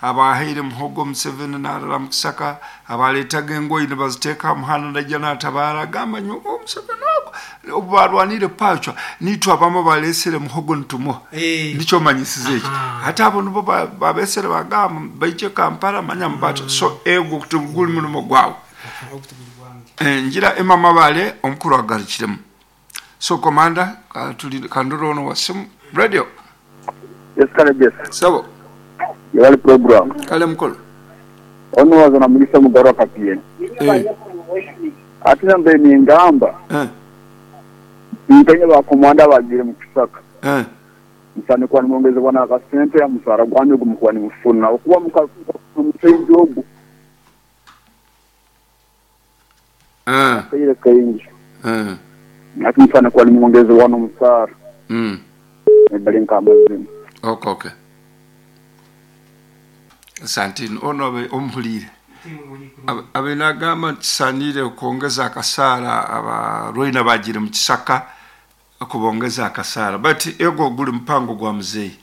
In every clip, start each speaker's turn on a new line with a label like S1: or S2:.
S1: Abahaire muhogo Museveni narara mu kisaka, abaletaga engoye nibaziteeka ha muhanda naija natabaara, agamba nyowe Museveni ogu obu barwanire Pacwa nitwe abamu abalesere muhogo nitumuha. Nikyo omanyisize eki. Hati abo nibo babesere bagamba baije Kampala manya mubate. So ego tiguli mulimo gwawe. Ngira Emma Mabale omukuru agarukiremu. So commander kandore ono wa simu. Radio.
S2: Yes kale Jesse.
S1: Sebo.
S2: Yebale program.
S1: Kale mukulu.
S2: Ono waza na Mugisa Mugarwa Kapie.
S1: Eh.
S2: Ate nambaire ningamba.
S1: Eh.
S2: Nkenye ba komanda abagiire mu kisaka.
S1: Eh.
S2: Musaanire kuba nimwongezebwa n'akasente aha musaara gwanyu ogu mukuba nimufuna. Okuba mukaingi ogu. Akaire kaingi. Hati musaanire kuba nimwongezebwa n'omusaara. Gali nk'amazima.
S1: Ok ok. Asante inho. Ono abe omuhuliire. Abaire nagamba nti kisaaniire okwongeza akasaara abarwaine abagiire mu kisaka okubongeza akasaara but ego guli mupango gwa muzeeyi.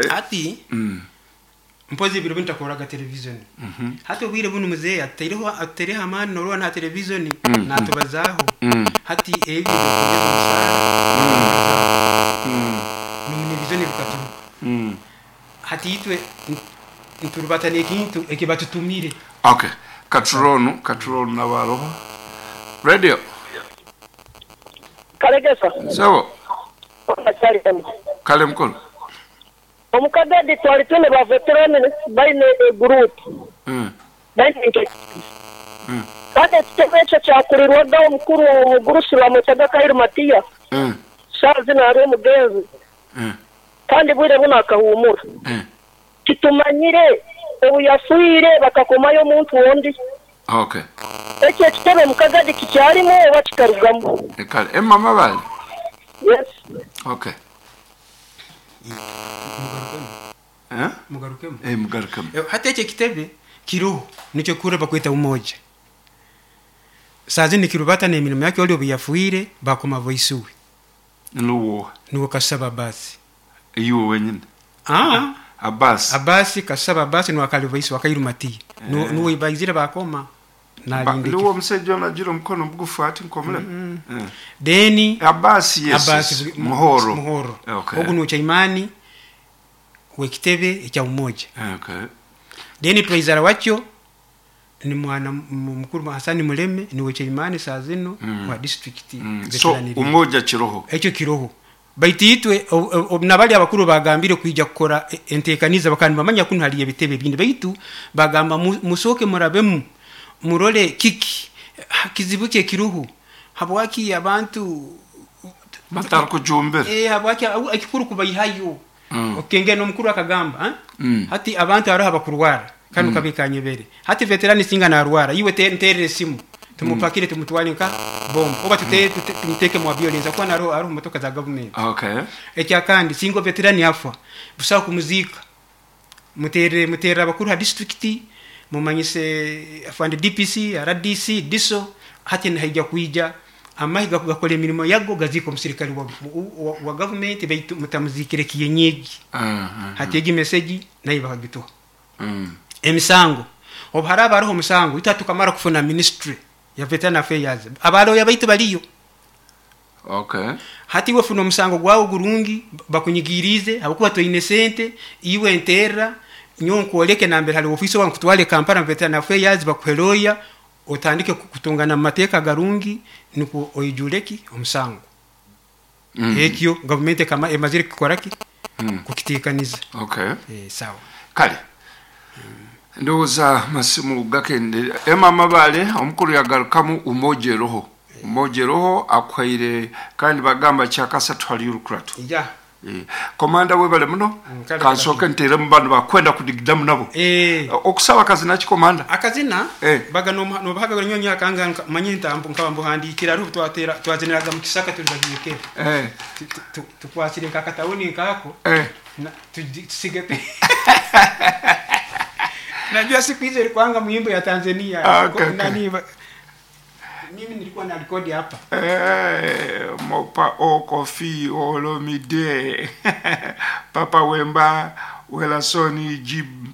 S3: Hati mpozi ebiro binu takoraga televizoni. Hati obwire bunu muzeeyi atutaireho atutaireho amaani norora naha televizoni natubazaaho. Hati ebyo ebyokwongeza omusaara nabibazaaho. Nomunevizoni bikaturuka. Hati itwe niturubata nekintu ekibatutumire.
S1: Ok katurole onu katurole onu nawe aroho. Radio.
S4: Kalegesa.
S1: Sebo.
S4: Kale
S1: mukulu.
S4: Omu Kagadi twali twine ba veterani baine eguruupu, baine nk'ekitebe. Kandi ekitebe ekyo kyakurirwaga omukuru omugurusi bamwetaga Kairu Matiya, saaha zinu ali omugenzi kandi bwire bunu akahuumura. Titumanyire obu yafiire bakakomayo omuntu ondi. Ekyo ekitebe omu Kagadi kikyalimu oba kikarugamu?
S1: Kale Emma Mabale.
S4: Yes.
S1: Okay.
S3: Mugarukemu.
S1: Eh?
S3: Mugarukemu.
S1: Eh, mugarukemu.
S3: Eh, hati ekyo ekitebe kiroho nikyo kura bakweta umoja. Saa zinu nikirubata n'emirimo yakyo oli obu yafiire bakoma voice we.
S1: Nuwo.
S3: Nuwe Kasaba Abasi.
S1: Iwe wenyini.
S3: Ah.
S1: Abasi.
S3: Abasi Kasaba Abasi nuwe akali voice wa Kairu Matiya. Mm. Nuwe baizire bakoma.
S1: Nuwe omusaija ono agira omukono mugufu ati nkomulema. Mm.
S3: Mm. Then
S1: Abasi yes.
S3: Abasi
S1: Muhoro.
S3: Muhoro.
S1: Okay.
S3: Ogu nuwe chaimani w'ekitebe ekya Umoja.
S1: Okay.
S3: Then treasurer wakyo ni mwana mukuru Hassan Muleme niwe chaimani saa zinu wa district.
S1: So Umoja kiroho.
S3: Ekyo kiroho. Baitu itwe nabali abakuru bagambire kwija kukora entekaniza bakaba nibamanya kunu haliyo ebitebe ebindi baitu bagamba musooke murabemu murole kiki kizibu ki ekiruho habwaki abantu
S1: batarukujumbira
S3: habwaki ekikuru kubaihayo. Okengera n'omukuru akagamba hati abantu haroho abakurwara kanu kabi kanyebere hati veterani singa narwara iwe nterere esimu tumupakire tumutwale nka bombo oba tumuteke mu ambulance kuba naroho aroho motoka za government.
S1: Okay.
S3: Ekyakandi singa veterani afa busaho kumuziika muterere muterere abakuru ha district mumanyise afande DPC RDC DISO hati nihaija kwija amahe gakora emirimo yago gaziika omusirikale wa government baitu mutamuzikire kienyeji. Hati egi message nayo bakagituha. Emisango obu haraba haroho omusango itwe tukamara kufuna ministry ya veteran affairs abaloya baitu baliyo.
S1: Okay.
S3: Hati iwe funa omusango gwawe gurungi bakunyigirize habwokuba toine sente iwe nterra nyowe nkwoleke nambere hali ofisi oba nkutwale Kampala mu veteran affairs bakuhe lawyer otandike kutungana mu mateeka garungi nukwo oijureki omusango. Ekyo gavumenti emazire kukoraki kukitekaniza.
S1: Okay.
S3: Sawa.
S1: Kale ndowooza masimu gakende. Emma Mabale omukuru yagarukamu Umoja eroho. Umoja eroho akuhaire kandi bagamba kyakasatu hali Olukuratu.
S3: Ya.
S1: Komanda webale muno.
S3: Kale
S1: Kansooke nteremu bano bakwenda kudigidamu nabo. Okusaba kazina ki komanda?
S3: Akazina baga nobahaga nyonyi akanga manye ntambu nkaba mbuhandikira hariho twatera twaziniraga mu kisaka tuli bagiye. Tukwasire nka katawuni nkako. Tusige pe. Najua siku hizo ilikuanga muimbo ya Tanzania.
S1: Okay, okay.
S3: Nani mimi nilikuwa na rekodi hapa.
S1: Mopa Okofi Olomide Papa Wemba Welasoni Jib